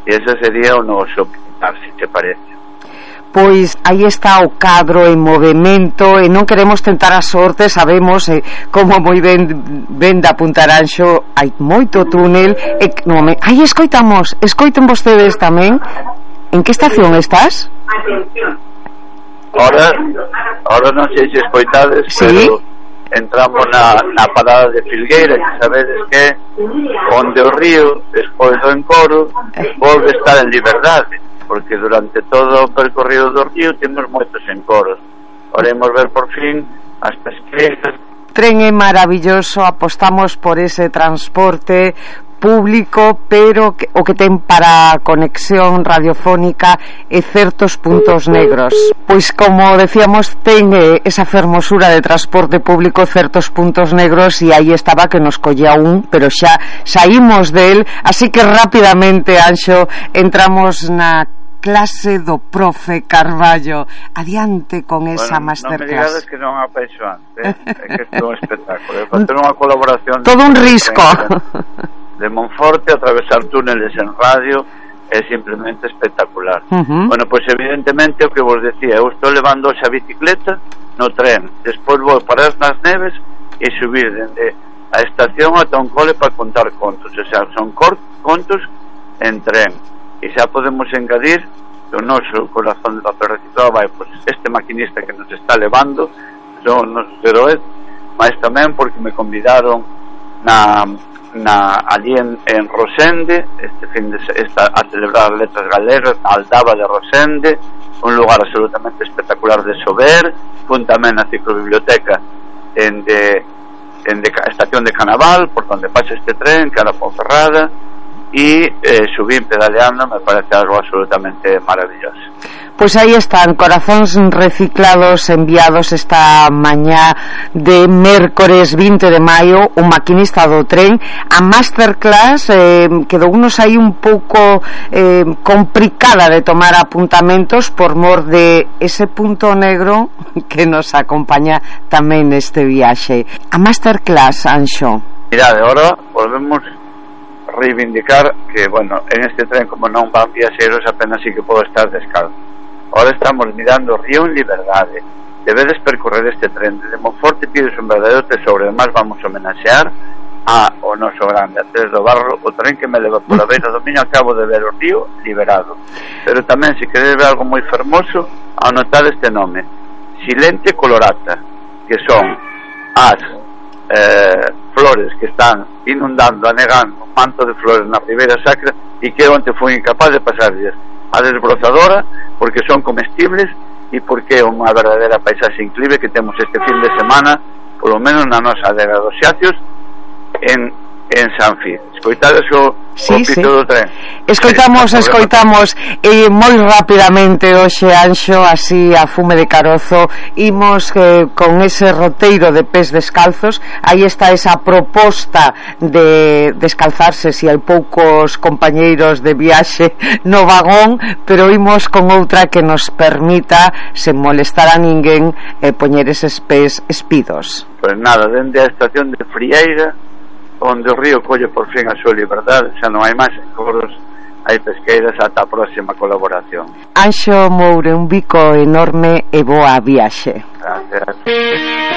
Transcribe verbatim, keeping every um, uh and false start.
e ese sería o noso pintar, se te parece. Pois aí está o cadro en movimento e non queremos tentar a sorte, sabemos eh, como moi ben ben da Puntaranxo hai moito túnel e no, me, aí escoitamos, escoiten vostedes tamén. En que estación estás? Ahora, ahora non sei se escoitades, ¿sí? Pero entramos na, na parada de Filgueira, que sabedes que onde o río, despois do encoro, volve a estar en liberdade, porque durante todo o percorrido do río temos moitos encoros. Podemos ver por fin as pesqueiras. Tren é maravilloso, apostamos por ese transporte público, pero que, o que ten para conexión radiofónica e certos puntos negros. Pois como decíamos, ten eh, esa fermosura de transporte público, certos puntos negros, e aí estaba que nos collía un, pero xa saímos del, así que rapidamente, Anxo, entramos na clase do profe Carballo. Adiante con esa bueno, masterclass. Non me digades que non apaixo antes, eh? É que isto é un espectáculo. É facer unha colaboración todo un risco de Monforte, atravesar túneles en radio é simplemente espectacular. Uh-huh. Bueno, pois pues evidentemente o que vos decía, eu estou levando xa bicicleta no tren, despois vou parar nas neves e subir dende a estación ata un cole para contar contos, o sea, son contos en tren, e xa podemos engadir o noso corazón de papel reciclado vai, pois pues, este maquinista que nos está levando son os heróis, mas tamén porque me convidaron na na allí en, en Rosende este fin de esta, a celebrar letras galegas na Aldaba de Rosende, un lugar absolutamente espectacular de Sober. Fun tamén a ciclobiblioteca en de, en de estación de Canaval, por donde pasa este tren que era Ponferrada, e eh, subí pedaleando, me parece algo absolutamente maravilloso. Pois aí están, corazóns reciclados enviados esta mañá de mércores vinte de maio, o maquinista do tren. A masterclass eh, quedounos aí un pouco eh, complicada de tomar apuntamentos por mor de ese punto negro que nos acompaña tamén neste viaxe. A masterclass, Anxo. Mirade, agora volvemos reivindicar que, bueno, en este tren como non van viaxeros apenas sí que podo estar descalzo. Ahora estamos mirando o río en liberdade. Debedes percorrer este tren desde Monforte, pides un verdadeiro tesoro. Además vamos a homenaxear a o noso grande Andrés do Barro, o tren que me leva pola beira do Miño. Acabo de ver o río liberado. Pero tamén, se queredes ver algo moi fermoso, anotad este nome: Silente Colorata, que son as eh, flores que están inundando, anegando un manto de flores na Ribeira Sacra, e que onte foi incapaz de pasarlles a desbrozadora, porque son comestibles e porque é unha verdadeira paisaxe inclive que temos este fin de semana, polo menos na nosa adega dos Xacios en, en Sanfi. Escoitades o, sí, o pito sí. do tren. Escoitamos, escoitamos e moi rapidamente hoxe, Anxo, así a fume de carozo, imos eh, con ese roteiro de pés descalzos. Aí está esa proposta de descalzarse se hai poucos compañeiros de viaxe no vagón, pero imos con outra que nos permita, sen molestar a ninguén, eh, poñer eses pés espidos. Pois nada, dende a estación de Frieira, onde o río colle por fin a súa liberdade, xa non hai máis encoros, hai pesqueiras. Ata a próxima colaboración. Anxo Moure, un bico enorme e boa viaxe. Gracias.